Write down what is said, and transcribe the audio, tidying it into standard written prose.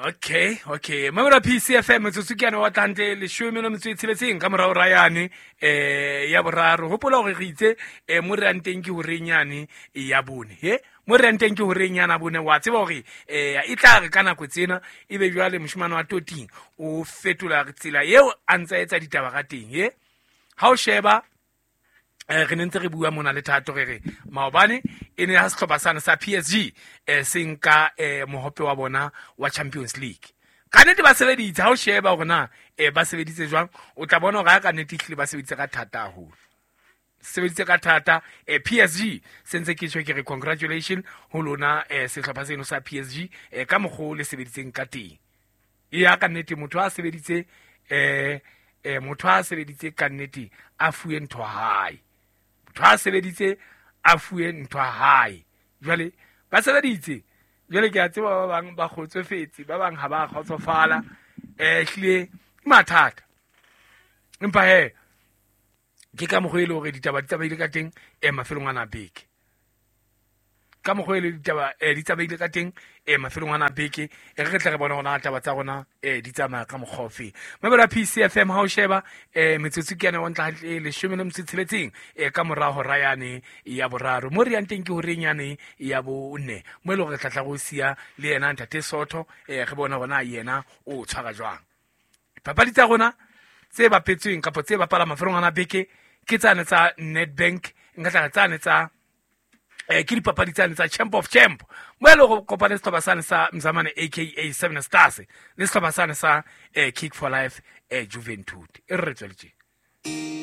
Okay, mamela PCFM. Metsotso ke yane wa tlantle leshome le metso e tsheletseng ka morao ra yane ya boraro. Hopola gore re itse mo re yang teng ke horeng yane ya bone. He, mo re yang teng ke horeng yana bone. Wa tseba gore e tla re ka nako tsena e be jwale moshimane wa toting o fetola tsela eo a ntsa etsa ditaba ka teng. He, ha o sheba re ne ntse re bua mona le Thato, re re maobane e ne ha sehlopha sane sa PSG se nka mohope wa bona wa Champions League. Ka nnete ba sebeditse. Ha o sheba hore na ba sebeditse jwang, o tla bona hore ha ka nnete ehlile ba sebeditse ka thata haholo, sebeditse ka thata. PSG, sentse ke tjho ke re congratulation ho lona, sehlopha seno sa PSG, ka mokgwa o le sebeditseng ka teng. Ya, ka nnete motho a sebeditse, motho a sebeditse ka nnete a fuwe ntho hae. Motho a sebeditse a fuwe ntho hae. Jwale ba sebeditse. Jwale ke a tseba ba bang ba kgotsofetse, ba bang ha ba kgotsofala. Hlile ke mathata, empa he ke ka mokgwa e le hore ditaba di tsamaile ka teng mafelong ana a beke. Ka mokgwa e le ditaba di tsamaile ka teng mafelong ana a beke, e re tle re bone hore na taba tsa rona di tsamaya ka mokgwa ofe. Mamela PCFM. Ha o sheba metsotso ke yane wa ntla hantle leshome le metso e tsheletseng ka mora hora yane ya boraro. Mo re yang teng ke horeng yane ya bone, mo e leng hore re tla tla go siya le yena ntate Sotho, re bone hore na yena o tshwara jwang dipapadi tsa rona tse bapetsweng kapa tse bapala mafelong ana beke. Ke tsane tsa Nedbank, nka tla re tsane tsa ke dipapadi tsane tsa Champ of Champ, mo e leng go kopane setlhopha sane sa Mzamane, aka Seven Stars, le setlhopha sane sa Kick for Life Juventud. E re re tsweletse.